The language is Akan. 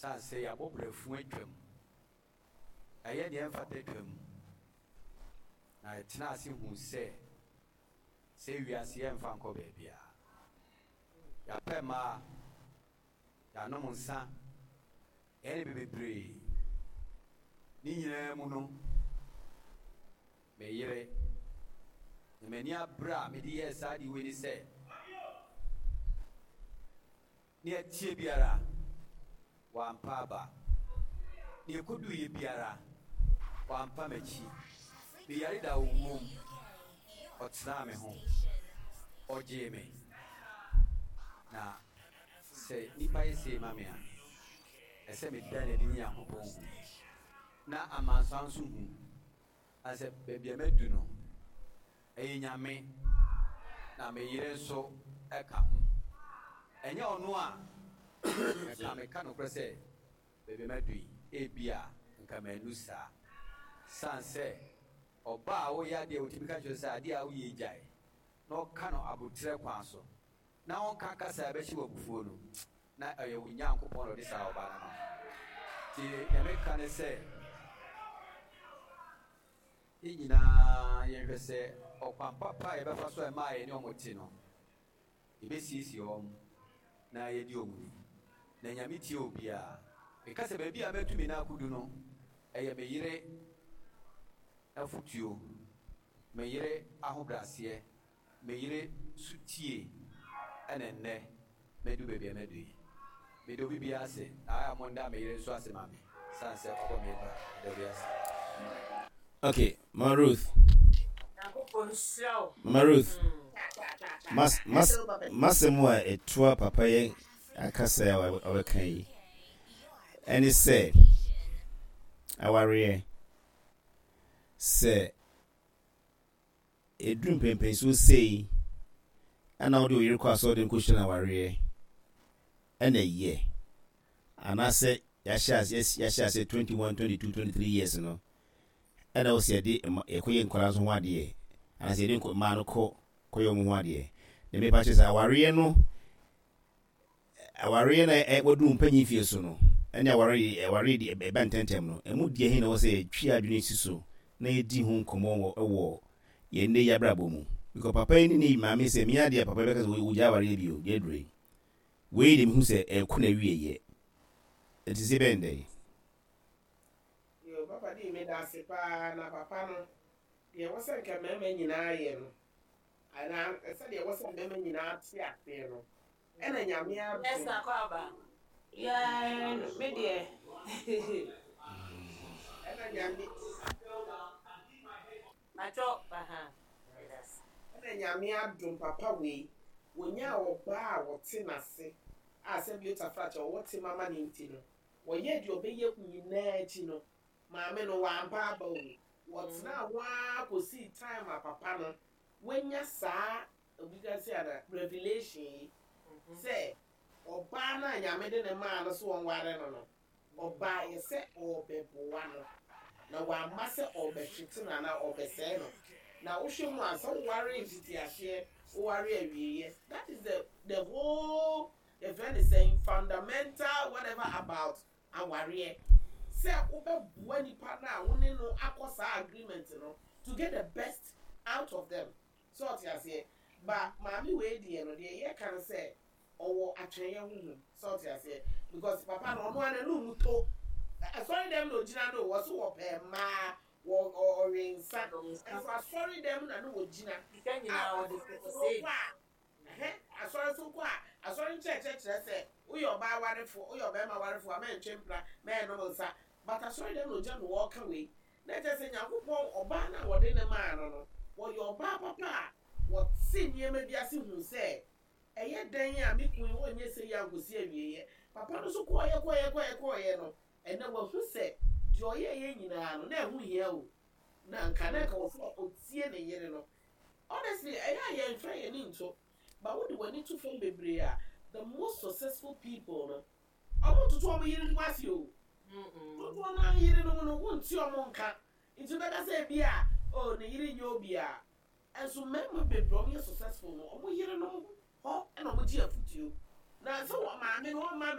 Sane sɛ yɛabɔ brɛfo atwam, yɛayɛ deɛ ɛmfata atwam, na yɛtena ase hu sɛ sɛ wiase yɛmfa nkɔ baabiara. Yɛapɛ mmaa, yɛanom nsa, yɛayɛ nneɛma bebree. Ne nyinaa mu no, me yere, na m'ani abere a mede yɛɛ saa ade wei ne sɛ, Nea ɛteɛ biara, wampa aba. Nea ɛkɔduiɛ biara, wampa m'akyi. Me yare da owuo mu, ɔtenaa me ho, ɔgyee me. Na sɛ nnipa yɛ sei ma me a, ɛsɛ meda no adi ne Nyankopɔn hu, na amansan nso hu. Na sɛ baabi a madu no, ɛyɛ Nyame, na me yere nso ka ho. Ɛnyɛ ɔno a, nka meka nokorɛ sɛ baabi a madu yi, ebia nka mannu saa. Sane sɛ ɔbaa a woyɛ adeɛ a wotumi ka kyerɛ no sɛ adeɛ a woyɛ yi gyae, na ɔka no aboterɛ kwan so, na ɔnka kasa a ɛbɛhyɛ wo abufuo no, na ɛyɛ wo Nyankopɔn na ɔde saa ɔbaa no ama wo. Nti deɛ meka ne sɛ, yɛn nyinaa yɛnhwɛ sɛ ɔkwan papa a yɛbɛfa so a ɛma yɛne wɔn te no, yɛbɛsiesie wɔn na yɛadi wɔn ni. Na Nyame tie obiara. Meka sɛ baabi a matu me nan akɔdu no, ɛyɛ me yere afotuo, me yere ahobrɛaseɛ, Me yere so tie ɛna nnɛ madu baabi a madu yi. Meda obi biara ase na ayɛ a monda me yere nso ase ma me sane sɛ ɔbɔ me bra. Meda obi ase. Okay, Mama Ruth. Mama Ruth. Mas mas masɛm a ɛtoa papa yɛ akasa a ɔbɛka yi ɛne sɛ awareɛ sɛ Ɛduru mpɛnpɛnsoɔ sei na wode wo yere kɔ asɔreden kɔhyira no awareɛ ɛna ɛyɛ anaasɛ yɛahyɛ aseɛ yɛahyɛ aseɛ 21, 22, 23 years no ɛna wo sɛ yɛde yɛkɔyɛ nkwadaa nso ho adeɛ anaasɛ yɛde mmaa no kɔ kɔyɛ wɔn ho adeɛ na mepa kyerɛ sɛ awareɛ no Awareɛ na waduru mpanyin fie so no, ɛne awareɛ awareɛ de ɛba ntɛmntɛm no, ɛmu deɛ he na ɛwɔ sɛ yɛtwe adwene si so na yɛdi ho nkɔmmɔ wɔ wɔ yɛn nnɛ yi abrabɔ mu? Because papa yi ne ne maame sɛ mia deɛ papa yi bɛka sɛ wɔgyae awareɛ bio deɛ aduro yi. Wei deɛ mehu sɛ ɛkɔ n'awieɛ. Ɛnti sɛ bɛn dɛn? Yoo papa dii meda ase paa na papa no deɛ ɛwɔ sɛ nka mmarima nyinaa yɛ no anaa sɛdeɛ ɛwɔ sɛ mmarima nyinaa te aseɛ no ɛna Nyame adom. Esther kɔ aba. Yeah, me deɛ. Ɛna Nyame. Pacho, aha. Ɛna Nyame adom papa wei, wɔnyaa ɔbaa a wɔte n'ase a sɛbi otafrakyɛ ɔwɔ tema ma no nti no, wɔyɛɛ deɛ ɔbɛyɛ nyinaa akyi no, maame no wampa aba o, wɔtenaa hɔ ara kɔsii time a papa no wanya saa obi ka sɛ ana revelation yi sɛ ɔbaa no a Nyame de no maa no sɛ ɔnware no no, ɔbaeɛ sɛ ɔrebɛboa no, na wamma sɛ ɔrebɛhwete no anaa ɔrebɛsɛe no. Na wohwɛ mu a, sɛ woware mfitiaseɛ, woware awieɛ, that is the the whole yɛfrɛ no sɛn, fundamental whatever about awareɛ, sɛ wobɛboa nipa no a wo ne no akɔ saa agreement no to get the best out of them. So ɔte aseɛ? Ba maame wei deɛ no deɛ yɛ ka no sɛ ɔwɔ atwɛnyɛ honhom. So ɔte aseɛ? Because papa no ɔno ara n'anum mu to. Asɔre dɛm na ogyina no o, wɔse wɔpɛ mmaa, wɔ ɔwe nsa. Nso asɔre dɛm na ne wɔgyina. Sika nyinaa A wɔde asɔre kɔ so save. kɔ a, ɛhɛ, asɔre so kɔ a, asɔre nkyerɛkyerɛ kyerɛ sɛ woyɛ ɔbaa warefoɔ, woyɛ ɔbarima warefoɔ a mɛntwe mpena, mɛnnom nsa. But asɔre dɛm na ogyina na wɔreka wei. Na kyerɛ sɛ Nyankopɔn ɔbaa no a wɔde no maa no no, wɔyɛ ɔbaa papa a wɔte nneɛma bi ase hu sɛ, ɛyɛ dɛn a me kunu yi ɔnyɛ sei ankosi awieɛ. Papa no nso kɔeɛ kɔeɛ kɔeɛ kɔeɛ no, ɛnnɛ wahu sɛ deɛ ɔyɛeɛ nyinaa no, na ɛho hia o. Na anka na anka wɔ sɛ ɔtie ne yere no. Honestly, ɛyɛ a yɛmfa yɛn ani nto, but wode w'ani to fam bebree a, the most successful people no, Wɔntoto wɔn yerenom ase o. Dodoɔ no ara yerenom no, wonte wɔn nka. Nti wobɛka sɛ ebia oh ne yere nyɛ obiara. Nso mmarima bebree a wɔyɛ successful no, wɔn yerenom hɔ na wɔgye afotuo. Na sɛ wɔn maame no ɔmma mmɛ.